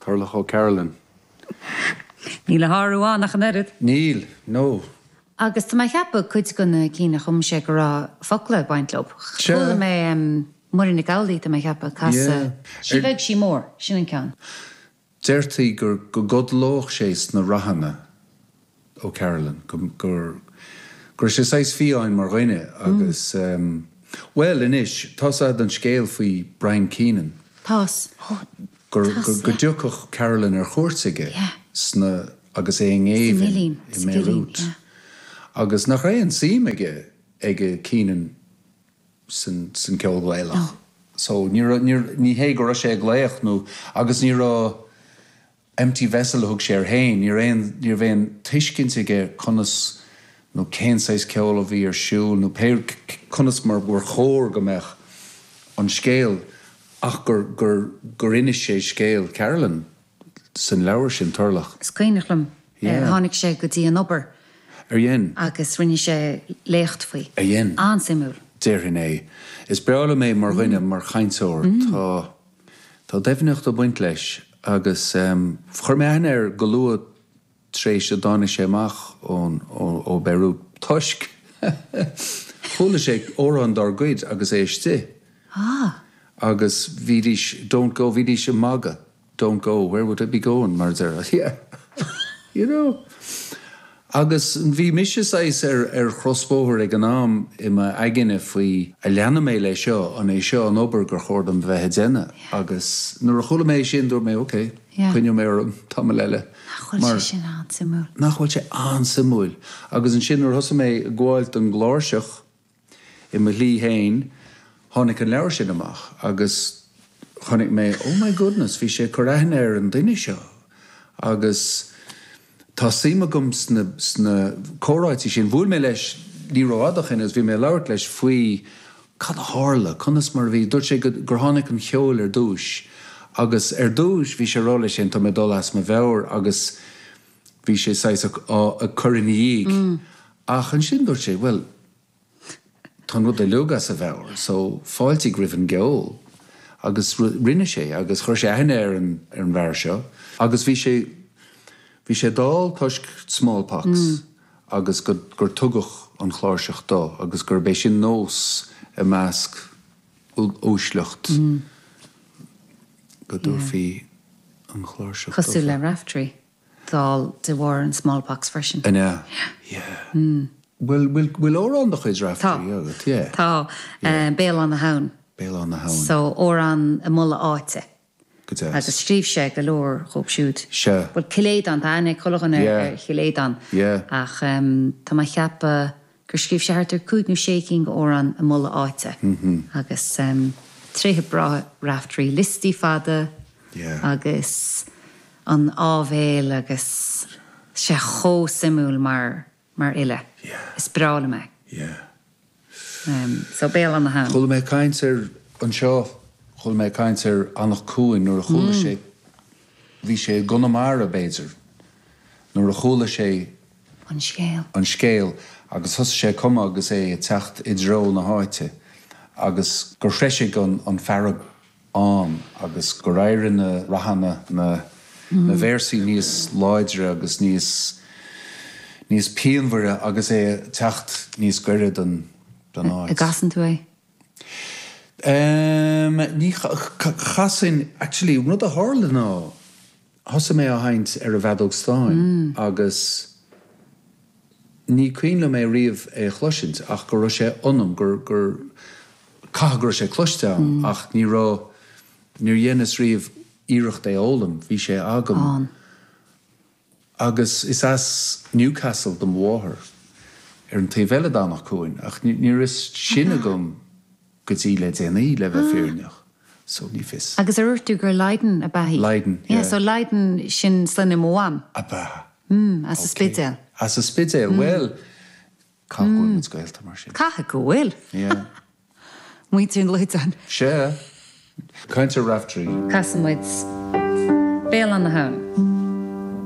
Turlough O'Carolan. Níl a shárú ann ach an oiread. Níl, no. Agus tá mé a cheapadh cuid de na cinn a chum sé go raibh focla ag baint leo. Sea. Chuala mé Muireann Nic Amhlaoibh, tá mé a cheapadh, ag casadh Sí Bheag Sí Mhór, sin an ceann. Deirtí gur go gcodlódh sé sna ráthanna, O'Carolan, go go raibh sé saghas fiáin mar dhuine agus bhuel anois, tá's a'd an scéal faoi Brian Keenan. Tá's. Gur go dtiocfadh Carolan ar chuairt aige sna agus é i ngéibheann i mBeirut agus nach raibh aon suim aige aige Keenan san san ceol Gaelach. So ní raibh ní ní hé go raibh sé ag glaoch nó agus ní raibh empty vessel a thug sé air féin, ní raibh aon ní raibh aon tuiscint aige conas nó cén saghas ceoil a bhí ar siúl nó pé conas mar gur chóir go mbeadh an scéal ach gur gur gur inis sé scéal Carolan san leabhar sin, Turlough. Is cuimhneach liom, tháinig sé go dtí an obair. Ar dhein? Agus rinne sé léacht faoi. Ar dhein? An-suimiúil. Déarfainn é. Is breá liom é mar dhuine, mar chainteoir. Tá tá doimhneacht ag baint leis agus chuir mé aithne air go luath tar éis a dtáinig sé amach ón ó Beirut toisc chuala sé amhrán dár gcuid agus é istigh. Ah. Agus bhídís don't go, bhídís ag magadh don't go, where would I be going mar a deir yeah you know. Agus bhí mise saghas ar ar chrosbhóthar ag an am i m'aigne faoi an leanfaidh mé leis seo, an é seo an obair gur chóir dom bheith ag déanamh agus nuair a chuala mé é sin dúirt mé ok, coinneoidh mé orm tamall eile. Nach bhfuil sé sin an-suimiúil? Nach bhfuil sé an-suimiúil. Agus ansin nuair a thosaigh mé ag gabháil don gcláirseach i mo shlí féin, tháinig an leabhar sin amach agus chonaic mé, oh my goodness, bhí sé ag cur aithne ar an duine seo agus tá suim agam sna, sna comhráití sin. Bhuail mé leis ní rófhada ó shin agus bhí mé ag labhairt leis faoi cad a tharla, conas mar a bhí, dúirt sé gur tháinig an cheol ar dtúis agus ar dtúis bhí sé ag rá leis féin tá mé ag dul as mo mheabhair agus bhí sé saghas ag cur ina dhiaidh ach ansin dúirt sé bhuel tá an rud uilig as a mheabhair so fáiltigh roimh an gceol agus rinne sé agus chuir sé aithne ar an ar an bhfear seo agus bhí sé bhí sé dall toisc smallpox. agus go gur tugadh an chláirseach dó agus gurb é sin nós i measc uaisleacht go dtabharfaí an chláirseach dófa. Cosúil le Raftery, dall de bharr an smallpox freisin. An ea? Yeah. Bhfuil, bhfuil, bhfuil amhrán de chuid Raftery agat? Yeah. Tá. Béal Átha na hAbhann. Béal Átha na hAbhann. So, amhrán ag moladh áite. Go deas. Agus scríobh sé go leor dhóibh siúd. Sea. Bhuel, Cill Aodáin, tá aithne ag chuile dhuine ar Chill Aodáin. Yeah. Ach tá mé ag ceapadh gur scríobh sé thart ar chúig nó sé cinn d'amhráin ag moladh áite. Agus tréithe breátha Raftery, liostaí fada agus an áibhéil agus sé chomh suimiúil mar mar fhile. Is breá liom é. Yeah. So, Béal Átha na hAbhann. Chuala mé caint ar, anseo, chuala mé caint ar Anach Cuain nuair a chuala sé, bhí sé i gConamara b'fhéidir, nuair a chuala sé An scéal. an scéal agus thosaigh sé ag cumadh agus é ag teacht i dtreo na háite agus gur threisigh an fearg ann agus gur éirigh na nathanna, na na véarsaí níos láidre agus níos níos pianmhaire agus é ag teacht níos gaire don don áit. An gcasann tú é? Ehm, ní chasfainn, actually, an rud a tharla ná thosaigh mé á sheinnt ar an bhfeadóg stáin agus ní cuimhin liom é riamh é a chloisint ach go raibh sé ionam, gur, gur, caithfidh go raibh sé cloiste agam ach ní raibh, níor dheineas riamh iarracht é a fhoghlaim, bhí sé agam. Ann. Agus is as Newcastle do mo mháthair, ar an taobh eile d'Anach Cuain, ach ní raibh fhios sin agam go dtí le déanaí, le bheith fírinneach, so ní fios. Agus ar dhúirt tú gur Lydon ab ea í? Lydon, yeah. Yeah, so Lydon, sin sloinne mo mham. Ab ea? Mm, as an Spidéal. As an Spidéal, bhuel, caithfidh go bhfuil muid gaolta mar sin. Caithfidh go bhfuil. Yeah. Muintir an Loideáin. Sea. Caint ar Raftery. Casfaidh muid Béal Átha na hAbhann.